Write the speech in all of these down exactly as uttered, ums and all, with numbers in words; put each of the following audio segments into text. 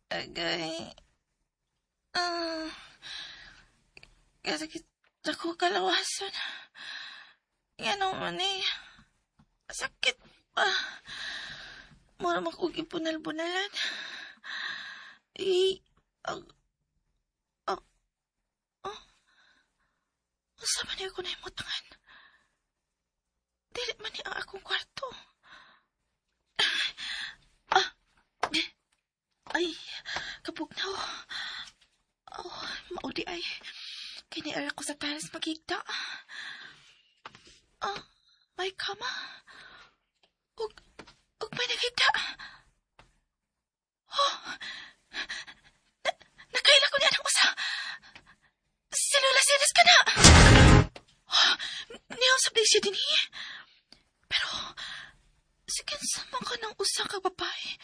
Agay. Ah. Kasakit ako kalawasan. Yan ang man eh. Sakit pa. Mura makugibunal-bunalan. Eh, ag, ag, oh. Unsa man ako na imutangan? Dili man ni ang akong kwarto. Ah, di, ay, kapugnaw. Oh, maudi ay. Kiniara ko sa taras magigda. Ah, may kama. Ug, ug may nagigda. Oh, na, nakaila ko niya ng usa. Si Lola Ceres ka na. Oh, niyaw sa siya din eh. Pero, sige sa man ka ng usa ka babae,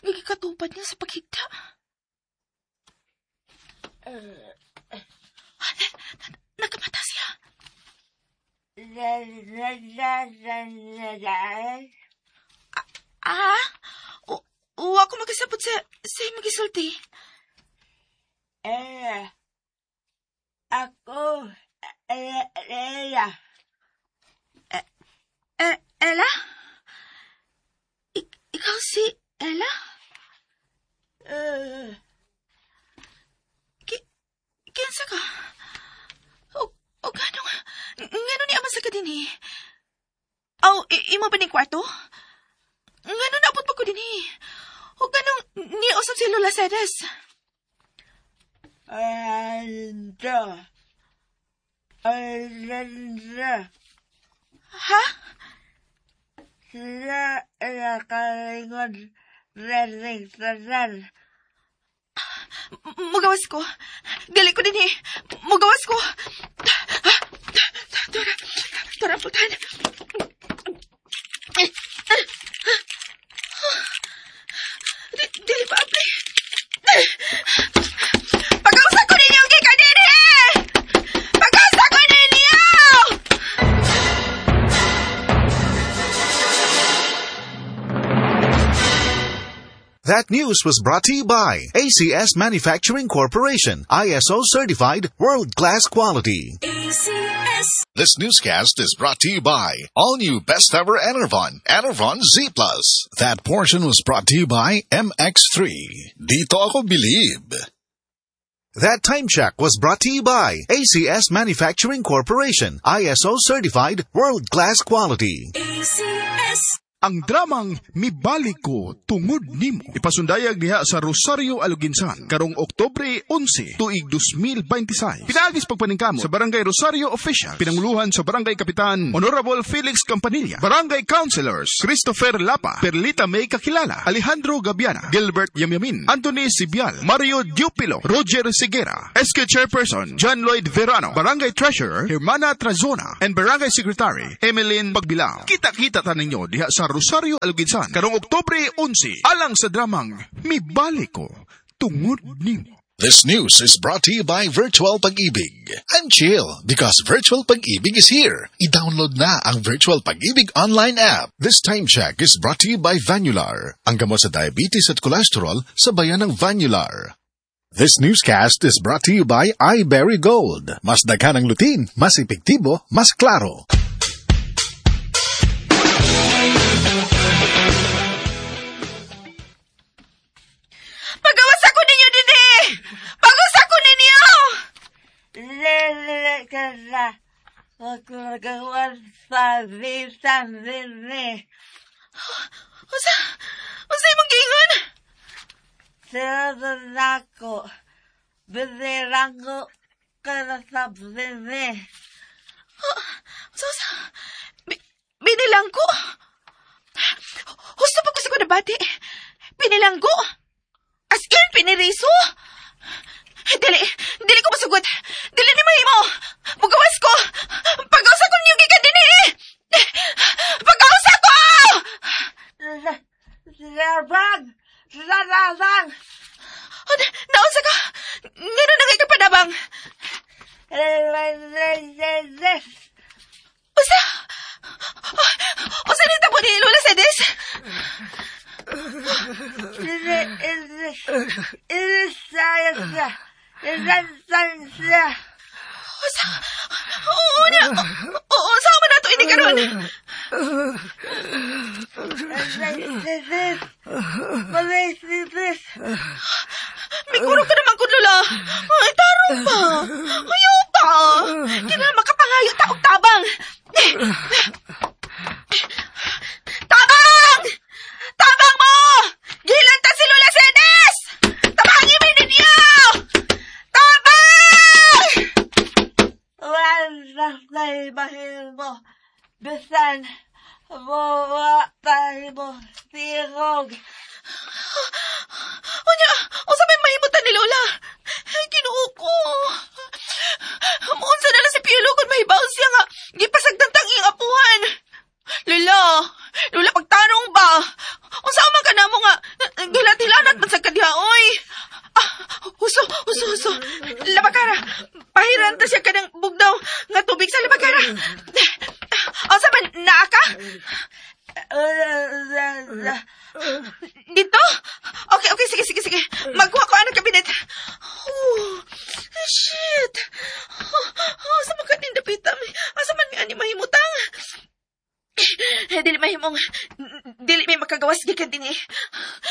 nagikatupad niya sa paghigda. Uh, ah, na, na, nakamata siya. Ah, ah? O, o ako magisabot sa, sa imong gisulti. Eh, ako, eh, Ella. Eh, eh, Ella? Ik- ikaw si Ella? Uh, Ki kinsa ka? O, o gano nga? Ngano ni ama sa ka din eh? Aw, imo ba ni kwarto? Ngano naabot pa ko din eh? O ganong ni usap si Lola Ceres? Ando. Ando. Ha? Sila nakalingon rening tanan. Mugawas ko. Dili ko din eh. Mugawas ko. Tora, tora, putan. Dili pa, apli. Pag-usa ko ninyo ang gikanini! Pag-usa ko ninyo! That news was brought to you by A C S Manufacturing Corporation, I S O certified, world-class quality. A C S. This newscast is brought to you by all new best ever Enervon, Enervon Z Plus. That portion was brought to you by M X three. Dito ako believe. That time check was brought to you by A C S Manufacturing Corporation, I S O certified, world-class quality. A C S. Ang dramang Mibalik Ko Tungod Nimo. Ipasundayag diha sa Rosario Aloginsan karong Oktubre onse, tuig dos mil twenty-six. Pinaagis pagpaningkamot sa Barangay Rosario Official, pinanguluhan sa Barangay Kapitan Honorable Felix Campanilla, Barangay Councilors Christopher Lapa, Perlita May Kakilala, Alejandro Gabiana, Gilbert Yamyamin, Anthony Sibial, Mario Dupilo, Roger Seguera, S K Chairperson John Lloyd Verano, Barangay Treasurer Hermana Trazona, and Barangay Secretary Emeline Pagbilao. Kita-kita ta ninyo diha sa Rosario Aloginsan karong Oktubre onse alang sa dramang Mibalik Ko Tungod Nimo. This news is brought to you by Virtual Pag-ibig. I'm chill because Virtual Pag-ibig is here. I-download na ang Virtual Pag-ibig online app. This time check is brought to you by Vanular. Ang gamot sa diabetes at cholesterol sa bayan ng Vanular. This newscast is brought to you by iBerry Gold. Mas daghan ang lutein, mas epektibo, mas klaro. Pagawas ako ninyo, Dede! Pagawas ako ninyo! Lele ka na. Magagawan sa bisan, Dede. Usa, usa imong giingon? Sila ko. Binirang ko ka na sa Dede. Usa, usa. Binilang ko? Husto pa ko sa ko nabati. Binilang ko? As in, piniriso? Dili, dili ko masugot. Dili ni mahimo. Mugawas ko. Pag-usa ko niyo gikan dinhi. Pag-usa ko! Labang! Labang! Naunsa ka? Ngano na kay kapanabang? Usa! Usa ni tabo ni Lola Cedes? Usa, oo na, oo, sa man nato ini karon. Miguro ka naman kun, Lola. Ay, tarong pa. Ayaw pa. Kina makapangayo ta og tabang. Tabang! Tabang mo! Gilan ta si Lola Sedes! Tabangi mi ninyo! Tabang! Wala kay mahimo. Bisan, buwa tayo mo sirog. Unya, unsa may mahimutan ni Lola? Ay, Ginoo ko. Muunsa na lang si Piolo kung mahibaw siya nga gipasagtantang iyang apuhan. Lola, Lola, pagtanong ba? Unsa man ka namo nga gilatilanat man sa kadiha, oy. Ah, huso, huso, huso. Labakara, pahiran ta siya kanang bugdaw nga tubig sa labakara. Unsa man, naa ka? Dito? Okay, okay, sige, sige, sige. Magkuha ko ang kabinet. Oh, shit. Oh, oh, sa mga kanindapita. Asa man mi ani mahimutang? Eh, dili mahimong, dili may makagawas gikan dinhi.